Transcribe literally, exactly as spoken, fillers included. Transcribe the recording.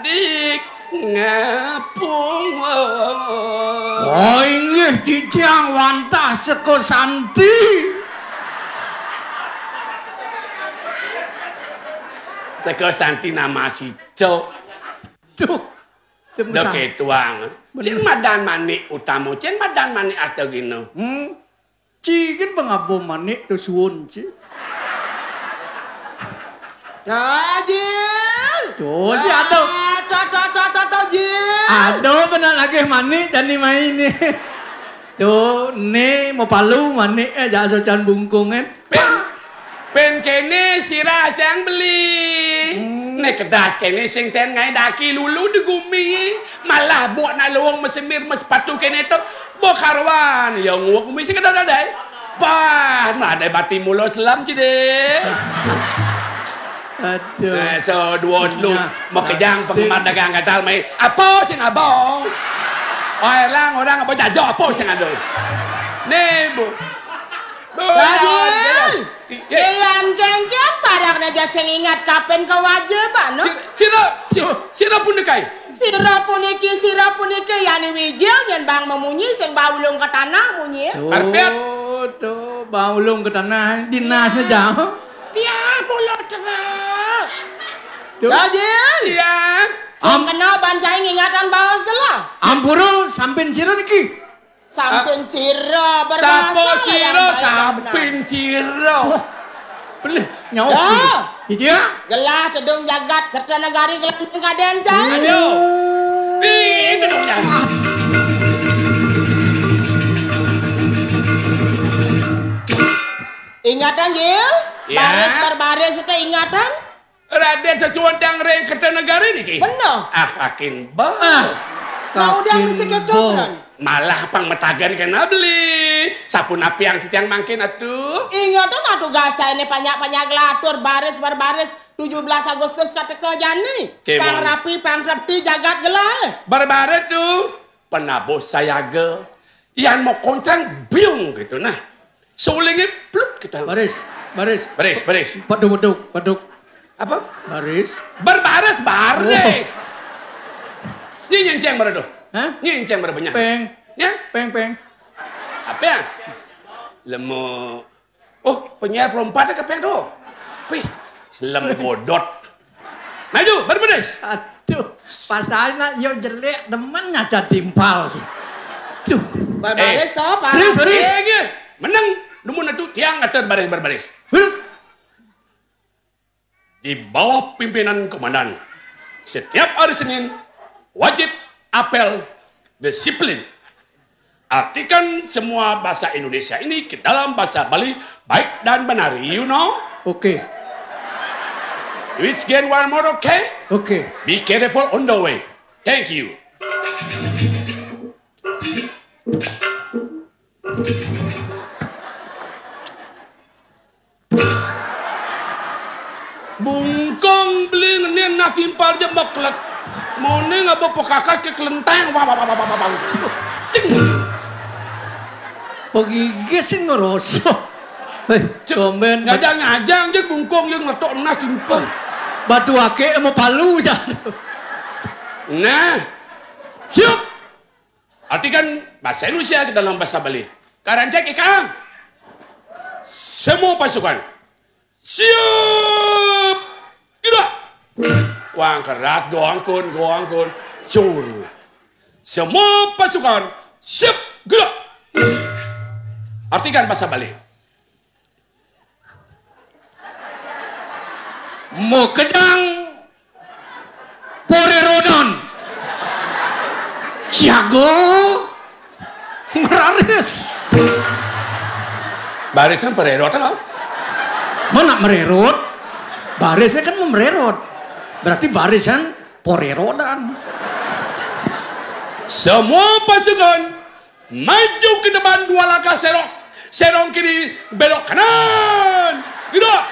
Dik ngapung. Oh, inggih titiang wantah Seka Santi. Seka Santi nama sicok. Duh, cem Dok kesang. Ketuang. Bener. Cén madan Manik Utama, cén madan Manik Artagina. Hmm. Ci kan pangaba Manik to suun ci. Dajil. Tuh, si ada. Ah, to, to, to, to, to, Jil. Ada benar lagi Manik jani mai ni. Tuh, ni mapalu Manik, eh, jasa can bungkung, eh. Pén, pén kéné sira sang beli. Hmm. Né kedas kéné sing ten ngai daki lulu di gumi. Malah bok nak luung masemir masepatu kéné to. Bok karuan, ya nguwek gumi sing kedas dadai. Bah, nadai bati mula selam ci dé. Aduh. Nah, so dua telu. Nah, makejang aduh. Penggemar dagang gatal mai. Apa sing abang? Oh, elang orang apa jajah apa sing ada? Né, Bu. Dajil. Iya. Yan kéngkén parak najat sing ingat kapen ka waja, Pak, no? Sira, sira, sira, sira puniki. Sira puniki, sira puniki, yani wijil, nyén bang mamunyi, sing baulung ka tanah munyi. Tuh, karpet. Tuh, baulung ka tanah, dinasné jauh. Pian pulo terus. Tuh. Dajil. Iya. Sing kena ban cai ngingatan baos gelah. Ampura, sampin sira niki. Sampin sira berbahasa sapa sira, yang baik dan benar. Sampin sira. Wah, pelih nyawa. Dah. Gitu ya? Gelah tedung jagat Kertanagari gelah kadén cai. Ayo. Ih, tedung jagat. Ingatan, Jil? Ya. Baris berbaris itu ingatan? Radén sesuunan ring Kertanagari niki? Bener. Ah, kakin ba. Ah, nah, udah kakin mesti ba. Ketukeran. Malah pang matagan kena beli. Sapunapi yang titiang mangkin atuh? Ingatan atuh gasa ini panjak-panjak gelatur baris berbaris tujuh belas Agustus kateka jani. Cemon. Pang rapi, pang trepti jagat gelah. Berbaris tuh. Penabuh sayaga. Yan mau koncang biung gitu nah. Sulingnya pluk gitu. Baris, baris. Baris, baris. Paduk, paduk, paduk. Apa? Baris. Berbaris, baris. Oh. Ini nyenceng berapa tuh? Hah? Ini nyenceng berapa nya? Peng. Ya? Peng, peng. Apa ya? Lemo. Oh, penyair pelompat ke peng tuh. Pis, selem godot. Maju, berbaris. Aduh, pasalnya yo jelek, demen ngaca timpal sih. Duh. Berbaris eh. Toh, Pak? Baris, baris. Iya, iya. Menang, dumun atuh tiang ngatur baris berbaris. Baris. Di bawah pimpinan komandan, setiap hari Senin wajib apel disiplin. Artikan semua bahasa Indonesia ini ke dalam bahasa Bali baik dan benar, you know? Oke. Which again one more, okay? Oke. Be careful on the way. Thank you. Bungkung beli ngenin nasi empal je maklet. Moning apa pekakat ke kelenteng. Wah, wah, wah, wah, wah, wah. Cing. Pegigis sing ngerosok. Eh, cek, tumben. Ngajang-ngajang je bungkung je ngeletok nasi empal. Batu akik sama palu, ya. Nah. Siap. Artikan bahasa Indonesia ke dalam bahasa Bali. Karancak ika. Semua pasukan. Siap. Gerak. Wang keras, goang kun, goang kun. Sur. Semua pasukan. Siap. Gerak. Artikan bahasa Bali. Makejang parerodan. Siaga meraris. Barisan parerod kan? Mana mererod? Barisnya kan mererod. Berarti barisan parerodan. Semua pasukan maju ke depan dua langkah serong. Serong kiri, belok kanan. Gerak.